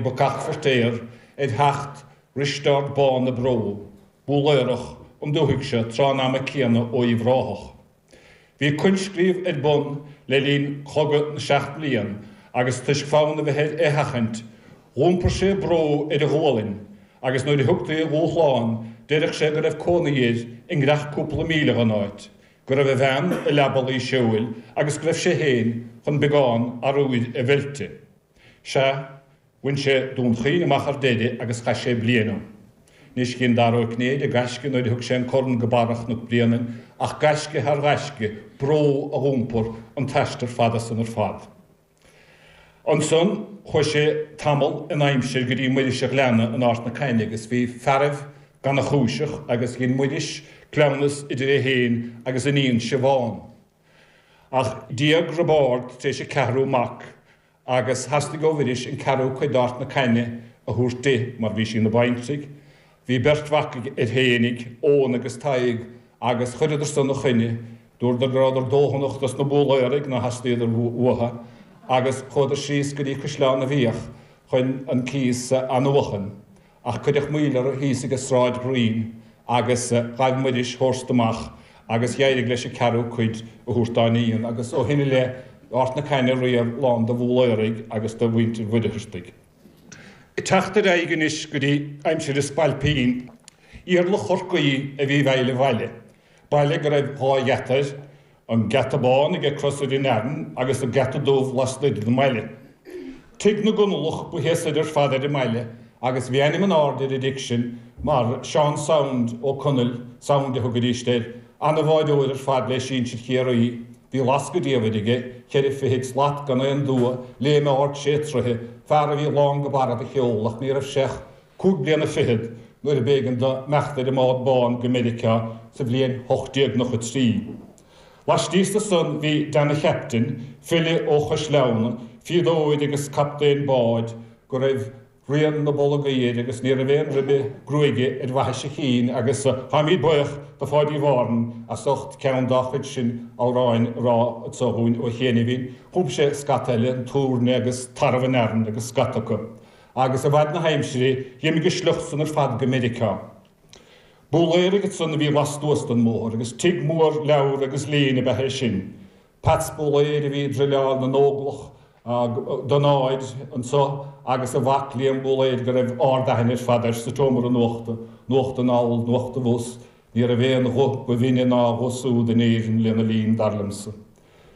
bacach Feirtéar ar theacht Risteárd Bán na Bró, Búlaerach, an dúthaigh seo tráth an ama céanna ó Uíbh Ráthach. Bhí coinscríobh ar bun le linn Chogadh na Seacht mBliain agus toisc fonn a bheith air é a sheachaint, dh'iompair sé bró ar a ghualainn agus nuair a thugtaí a dhúshlán deireadh sé go raibh cónaí air i nGreach cúpla míle dhon áit, go raibh a bhean i leaba luí seoil agus go raibh sé féin chun beagán arbhair a mheilte. Sea, bhain sé Dún Chaoin amach ar deireadh agus chaith sé bliain ann. Anois dhein Dara Ó Cinnéide gaisce nuair a thug sé an corn go barra Chnoc Bréanainn ach gaisce thar ghaisce, bró a dh'iompar an t-aistear fada san ar fad. Ansan chuaigh sé tamall in aimsir go dtí Muiris a' Ghleanna in Art na Caithne agus bhí fearaibh gannachúiseach agus dhein Muiris cleamhnas idir é féin agus iníon Siobhán. Ach d'éag Roibeárd tar éis a ceathrú mac agus theastaigh ó Mhuiris an ceathrú cuid d'Art na Caithne a thabhairt di mar bhí sí ina baintrigh. Bhí beirt mhac air fhéinig, Eoghan agus Tadhg, agus chuireadar san 'na choinne. Dúradar go rabhadar dóthanach dos na Búlaeraigh ná theastaíodar uatha, agus chuadar síos go dtí Caisleán na bhFiach chun an cíos a athnuachan. Ach cuireadh moill orthu thíos ag an Sráid Ghrinn agus ghaibh Muiris thabhairt amach agus dh'éirigh leis an ceathrú cuid a thabhairt dá iníon agus ó shin i leith Art na Caithne riamh lán de Bhúlaeraigh agus de mhuintir Mhuircheartaigh. Ag teacht ar aghaidh anois go dtí aimsir an Spailpín, Iarla Chorcaí a bhí i bhfeighil an bhaile, baile go raibh dhá gheata air, An Geata Bán aige Crosaire in Arann agus an Geata Dubh lastoir den mbaile. Tigh na gConallach ba thíos soir ar fad ar an mbaile agus bhí ainm in airde ar an dtigh sin mar Seán Sound Ó Conaill, Sound a thugaidíst air, ana-bháireoir ar fad le sinsir Chiarraí. Bhí lascadh diamhair aige, cheithre fichid slat gan aon dua, léim ard sé troithe, fear a bhí lán go barra de cheol ach ní raibh sé ach cúig bliana fichead nuair a b'éigean do imeacht ar an mbád bán go Meiriceá sa bhliain 1893. Laistíos de san bhí Dan a Chaptain, file ó Chois Leamhna, fíodóir agus captaen báid, go raibh rian na bolgaí air agus ní raibh aon ribe gruaige ar bhaithis a chinn agus táimíd buíoch do Pháidí Mhárthain as ucht ceann dá chuid sin amhráin a rá anso dhúinn ó chianaibhín. Chum sé scata eile, An Túirne agus Tarbh in Arann agus scata acu. Agus i bhfad na haimsire, dh'imigh a sliocht san ar fad go Meiriceá. Búlaeraigh ansan a bhí lastuas den mbóthar, agus tigh mór leabhar agus léinn ab ea é sin. Peats Búlaeir a bhí ag druileáil na nÓglach don áir anso agus a mhac Liam Búlaeir go raibh ard-aithne ar fad air sa tseomra nuachta, nuacht anall, nuacht abhus, ní raibh aon ghuth ba bhinne ná a ghuth súd in Éirinn lena linn, dar liomsa.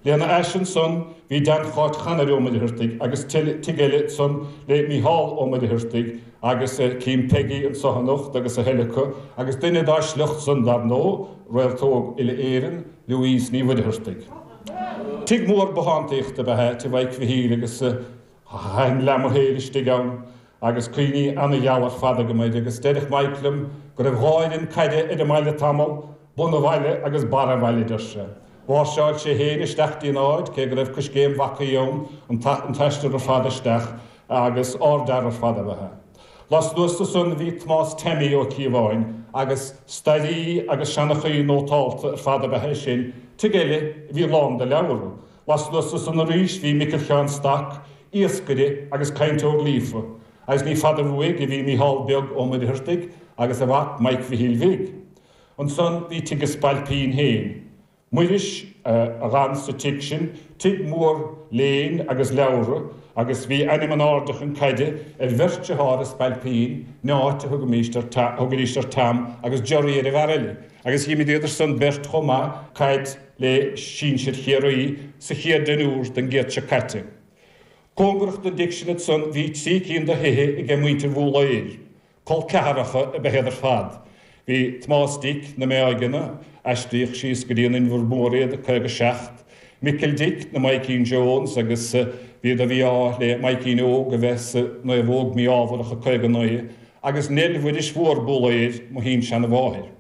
Lena ais ansan bhí Dan Cháit Chanair Ó Muircheartaigh agus tigh eile ansan le Mícheál Ó Muircheartaigh agus cím Peggy anso anocht agus a thuilleadh acu agus duine dá sliocht san dar ndóigh, réalt óg uile-Éireann, Louise Ní Mhuircheartaigh. Tigh mór bothántaíochta ab ea é tigh Mhaidhc Mhichíl agus thaitin leath mo shaoil istigh ann agus cuimhní ana-gheala ar fad agam air agus deireadh Maidhc liom go raibh dhá fhoireann caide ar an mbaile tamall, Bun a' Bhaile agus Barr a' Bhaile, deir sé. Mháirseáil sé féin isteach dtí'n áit, cé go raibh coiscéim bhacaí ann, an t-aistear ar fad isteach, agus ardfhear ar fad ab ea é. Lastuas de san bhí Tomás Teaimí Ó Cíobháin, agus stairí agus seanchaí nótálta ar fad ab ea é sin, tigh eile a bhí lán de leabhra. Lastuas de san arís bhí Micil Sheáin Stac, iascaire agus cainteoir líofa, agus ní fada uaidh a bhí Mícheál Beag Ó Muircheartaigh agus a mhac Maidhc Mhichíl Bhig. Ansan bhí tigh a' Spailpín féin. Muiris a dh'fhan sa tigh sin, tigh mór léinn agus leabhra, agus bhí ainm in airde chun caide ar bheirt dearthár a' Spailpín, Neáit a thugaimíst ar, thugaidíst ar Tam agus Gerry ar an bhfear eile, agus dh'imríodar san beirt chomh maith caid le sinsir Chiarraí sa chéad deichniúr den gcéad seo caite. Cóngarach don dtigh sin ansan bhí trí cinn de thithe aige muintir Bhúlaeir. Col ceathracha ab ea iad ar fad. Bhí Tomás Dic na Meáigeanna, aistríodh síos go dtí an Inbhear Mór iad i 57, Micil Dic na Maidhcín Jones agus b'iad a bhí ádh le Maidhcín Óg a bheith sa naomhóg mí-ámharach i 59, agus Neil Mhuiris Mhór Búlaeir, mo shín-seana-mháthair.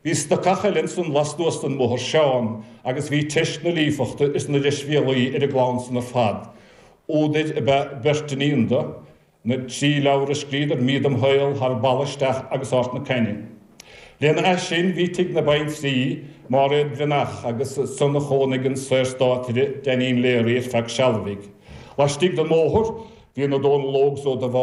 Bhí stocach eile ansan lastuas den mbóthar, Seán, agus bhí teist na líofachta is na deisbhéalaí ar an gclann san ar fad. Údair ab ea beirt iníon do. Na trí leabhar a scríodar, Mí dem Shaol, Thar Balla Isteach agus Art na Caithne. Lena ais sin bhí tigh na baintrí, Máiréad Bhreathnach, agus ansan a chónaigh an Saorstátaire Dainín Leary ar feadh seal bhig. Laistigh den mbóthar bhí na Dónall Ógs Ó Dubháin.